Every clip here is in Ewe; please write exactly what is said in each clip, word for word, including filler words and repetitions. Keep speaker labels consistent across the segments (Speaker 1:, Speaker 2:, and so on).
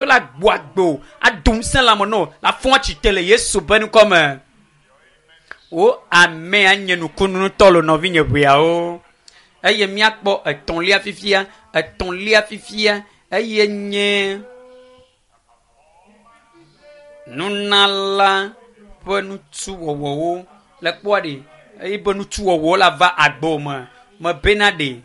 Speaker 1: La gbo ado ŋusẽ lãme nɔ la fɔ atsite le Yesu be ŋkɔme. Wo amea nye nukunu ŋutɔ le nɔvinye ʋeawo. Eye míakpɔ etɔ̃lia fifia, etɔ̃lia fifia eye nye nunala ƒe nutuwɔwɔwo. Le kpɔa ɖe, eye be nutuwɔwɔwo la va agbo me. Mebena ɖe,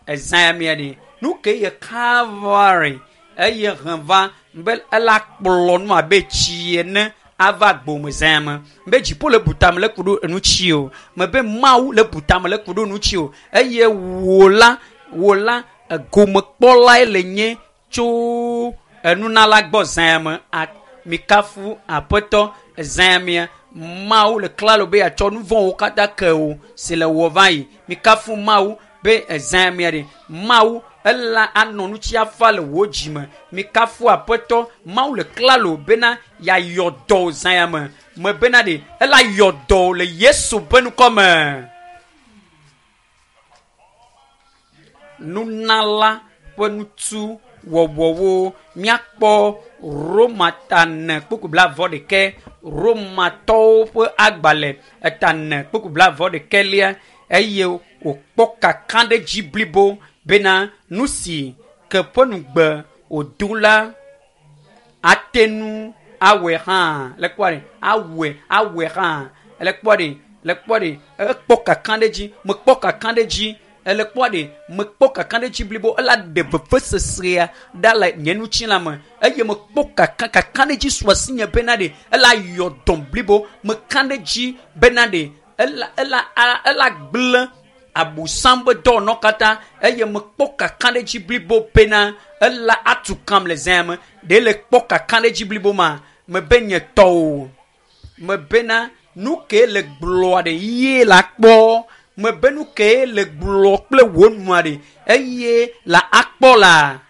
Speaker 1: ezã ya mia ɖe. Nu ke ye Calvary eye hẽ va be ela kplɔ nu abe tsi ene ava agbo me zã me. Be dziƒo le butame le ku ɖo enu tsi o. Mebe Mawu le butame le ku ɖo nu tsi o. Eye wò la, wò la, egomekpɔlae le nye tso enunala gbɔ zã me. A, mikafu aƒetɔ zã mia. Mawu le klalo be yeatsɔ nu vɔ̃wo katã ke wò si le wɔ va yi. Mikafu Mawu be ezã mia ɖe. Mawu ela anɔ nu tsi afa le wò dzime. Mikafu aƒetɔ. Mawu le klalo bena yeayɔ dɔ zã ya me. Mebena ɖe ela yɔ dɔ le Yesu be ŋkɔme. Nunala ƒe nutuwɔwɔwo. Míakpɔ Roma ta ene kpukpu blaeve ɖekɛ. Romatɔwo ƒe agbalẽ eta ene kpukpu blaeve ɖekɛlia eye wòkpɔ kakaɖedzi blibo bena nu si ke ƒe nugbe wòdo la ate ŋu awɔe hã. Le kpɔa ɖe, awɔe, awɔe hã. Le kpɔa ɖe, le kpɔa ɖe, ekpɔ kakaɖedzi, mekpɔ kakaɖedzi. Ele kpɔa ɖe, mekpɔ kakaɖedzi blibo, ela ɖe vevesesea ɖa le nye ŋutilã me. Eye mekpɔ kaka, kakaɖedzi su asinye bena ɖe, ela yɔ dɔm blibo. Meka ɖe dzi bena ɖe, ela, ela, ela gblẽ abosam be dɔwɔnɔ katã. Eye mekpɔ kakaɖedzi blibo bena ela atu kam le zã me. Ɖe le kpɔ kakaɖedzi blibo ma, mebe nye tɔwo. Mebena nu ke le gblɔa ɖe ye la kpɔ. Mebe nu ke le gblɔ kple wò nua ɖe eye la akpɔ la.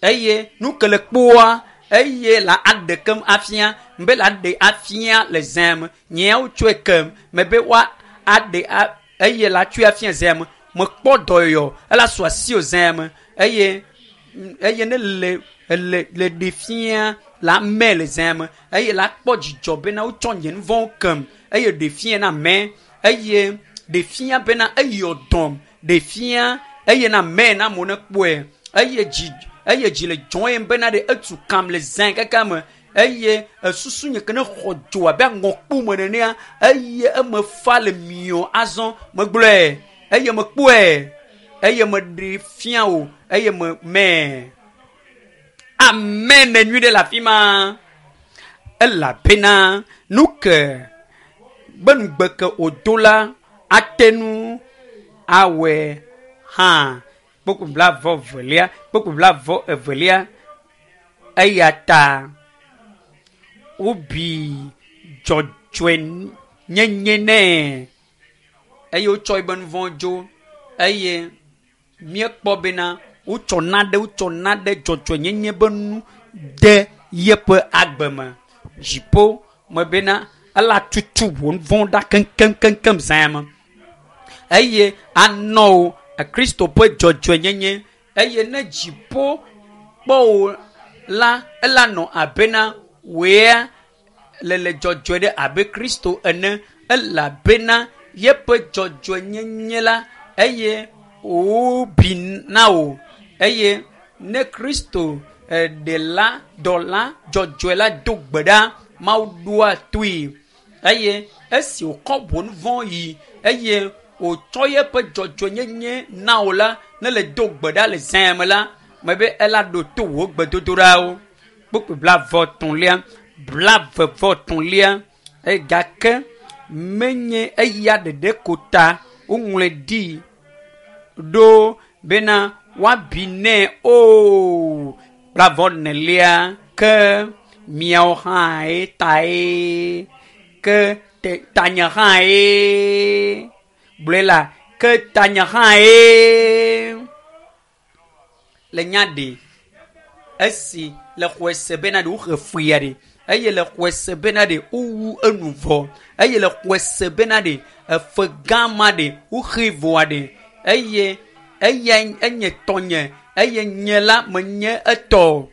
Speaker 1: Eye nu ke le kpɔa, eye la aɖe kem afia. Mebe la aɖe afia le zã me. Nyeawo tsɔe kem. Mebe woa aɖe a, eye la tsɔe afia zã me. Mekpɔ dɔyɔyɔ, ela su asi wò zã me. Eye, eye ne le, le, le ɖe fia la me le zã me. Eye la kpɔ dzidzɔ bena wotsɔ nye nu vɔ̃wo kem. Eye ɖe fia na me. Eye ɖe fia bena eyɔ dɔm. Ɖe fia eye na me na amewo ne kpɔe. Eye dzi, eye dzi le dzɔm bena ɖe etu kam le zã kaka me. Eye esusu nye ke ne xɔ dzo abe aŋɔkpo me nenea, eye eme fa le miɔ azɔ. Megblɔe, eye mekpɔe, eye meɖe fia wò, eye me mɛ. Amen nyui ɖe le afi ma. Elabena nu ke be nugbe ke wòdo la ate ŋu awɔe hã. Kpukpu blaeve evelia, kpukpu blaeve evelia. Eya ta wobi dzɔdzɔenyenye nɛ eye wotsɔ ebe nu vɔ̃ dzo. Eye míekpɔ bena wotsɔ naɖe, wotsɔ naɖe dzɔdzɔenyenye be nu de yeƒe agbe me. Dziƒo me bena ela tutu wò nu vɔ̃ ɖa keŋkeŋkeŋkeŋ zã me. Eye anɔ wò Kristo ƒe dzɔdzɔenyenye. Eye ne dziƒo kpɔ wò la, ela nɔ abena wòea le le dzɔdzɔe ɖe abe Kristo ene. Elabena yeƒe dzɔdzɔenyenye la eye wòbi na wò. Eye ne Kristo ɖela dɔla dzɔdzɔe la do gbe ɖa, Mawu ɖoa toe. Eye esi wòkɔ wò nu vɔ̃ yi eye wòtsɔ yeƒe dzɔdzɔenyenye na wò la, ne le do gbe ɖa le zã me la, mebe ela ɖo to wò gbedodoɖawo. Kpukpui blaeve etɔ̃lia, blaeve vɔ etɔ̃lia. Eye gake menye eya ɖeɖe ko ta woŋlɔe ɖi ɖo bena woabi nɛ o. Blaeve enelia, ke miawo hãe tae, ke te, tanye hãe. Gblɔe la, ke tanye hãe. Le nya ɖe, esi le xɔe se bena ɖe woxe fuya ɖe, eye le xɔe se bena ɖe wowu enu vɔ, eye le xɔe se bena ɖe efe gã ma ɖe woxe vɔa ɖe, eye eya enye tɔnye, eye nye la menye etɔ.